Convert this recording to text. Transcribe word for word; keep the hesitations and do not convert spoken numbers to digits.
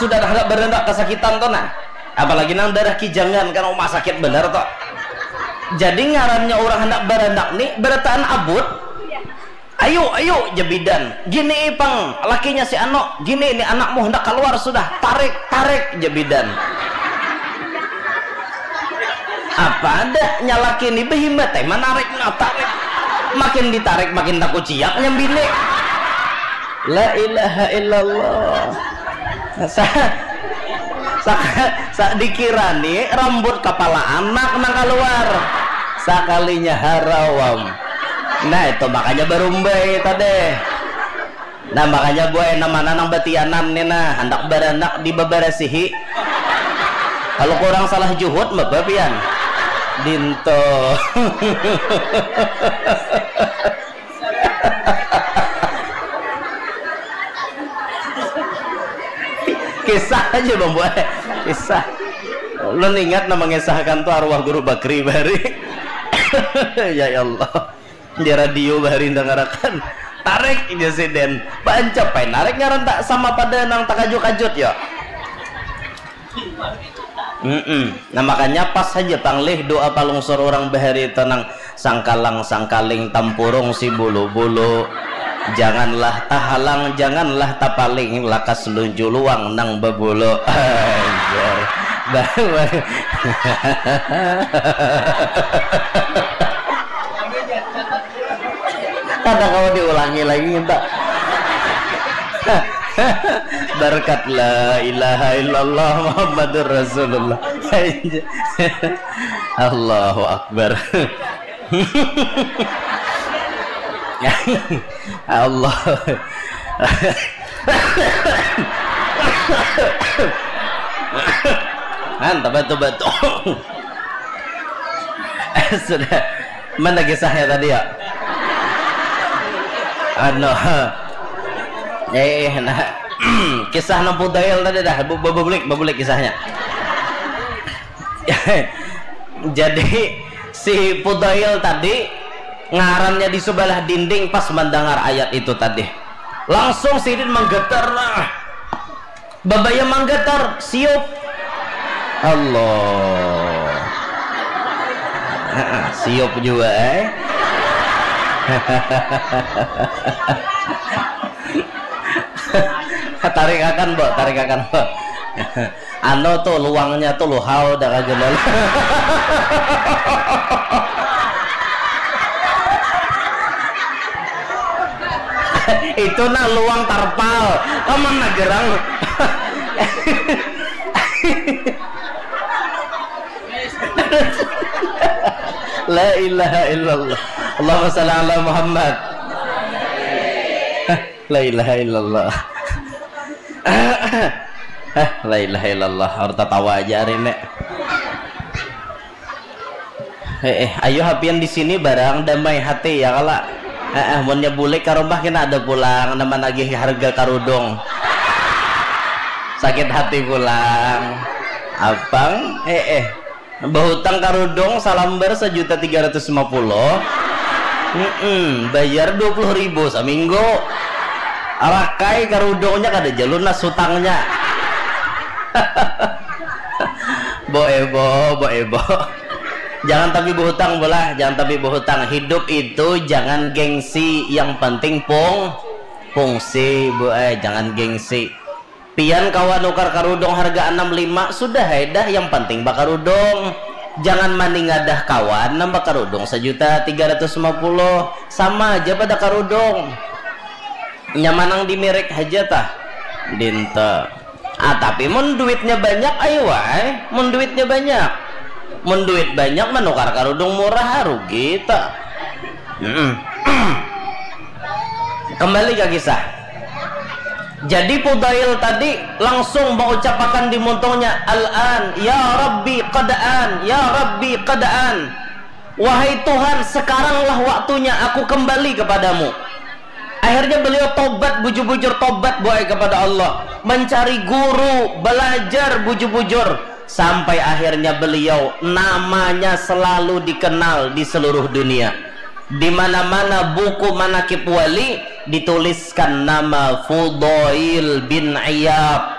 Sudah handak baranak kasakitan tu nah. Apalagi nang darah kijangan kan, uma sakit banar tu. Jadi ngarannya urang handak baranak ni barataan abut. Ayu, ayu, ja bidan. Gini pang lakinya si anu, gini ni anakmu handak kaluar sudah. Tarik, tarik, ja bidan. Apa ada nya laki ni bahimbat ai manarik, nah tarik. Makin ditarik makin takuciak nya bini. La ilaha illallah. Sa, sa, sa dikira ni rambut kapala anak nang kaluar. Sakalinya harawam. Nah itu makanya barumbai tadi. Nah makanya buai namana nang batianan ni nah handak baranak dibabarasihi. Kalau kurang salah juhut mapa pian? Dinto. Kisah aja bang buai. Kisah. Ulun ingat nama mengisahkan tu arwah guru Bakri bari. Ya Allah. Di radio bahari dangarakan tarik jar si Den. Baancapai narik ngaran tak sama pada nang takajut-kajut ya. Mm-mm. Nah makanya pas haja panglih doa palungsur urang bahari tenang sangkalang sangkaling tampurung si bulu-bulu janganlah tahalang janganlah tapaling lakas lunju luang nang babulu. Anjir. Bah- Kada kawa diulangi lagi kita. Berkat la ilaha illallah Muhammadur Rasulullah. Allahu Akbar. Allah. Mantap betul-betul. Sudah. Mana kisahnya tadi ya? Anu. Eh, nah. Kisah nang Fudail tadi dah, bu- babulik, babulik kisahnya. Jadi si Fudail tadi ngarannya di sebelah dinding pas mendengar ayat itu tadi. Langsung sidin menggetar. Babaya manggatar, siup. Allah. Heeh, siup jua ai. Tarikakan, Bo, tarikakan, Bo. Anu tu luangnya tu luhau dah kagelel. Itu nah luang tarpal. Kamana gerang? La ilaha illallah. Allahumma salli ala Muhammad. La ilaha illallah. Hah, la ilaha illallah. Harus tatawa aja hari ini. Eh, eh, ayo hapian di sini barang damai hati ya kala. Eh, eh, munnya bulik ke rumah kena ada pulang nama nagih harga karudung. Sakit hati pulang. Apang, eh, eh. Bahutang karudung salambar sejuta tiga ratus lima puluh. Mm-mm, bayar dua puluh ribu seminggu. Rakai karudungnya kada jalun lah sutangnya. Bo ebo, bo ebo. Jangan tapi berhutang bolah, jangan tapi berhutang. Hidup itu jangan gengsi, yang penting pung fungsi, bu eh jangan gengsi. Pian kawa nukar karudung harga anam lima sudah ai dah yang panting bakarudung. Jangan maningadah kawan nang bakarudung sajuta tiga ratus lima puluh sama aja pada karudung. Nyamanang di merek haja tah. Dinta. Ah tapi mun duitnya banyak ayo wae. Mun duitnya banyak. Mun duit banyak manukar karudung murah ah, rugi ta. Mm-mm. Kembali ke kisah. Jadi Fudail tadi langsung mengucapakan di muntungnya, "Al-an, ya Rabbi, qad an, ya Rabbi, qad an." Wahai Tuhan, sekaranglah waktunya aku kembali kepadamu. Akhirnya beliau tobat, bujur-bujur tobat buai kepada Allah, mencari guru, belajar bujur-bujur, sampai akhirnya beliau namanya selalu dikenal di seluruh dunia. Di mana-mana buku manakib wali dituliskan nama Fudail bin Iyad.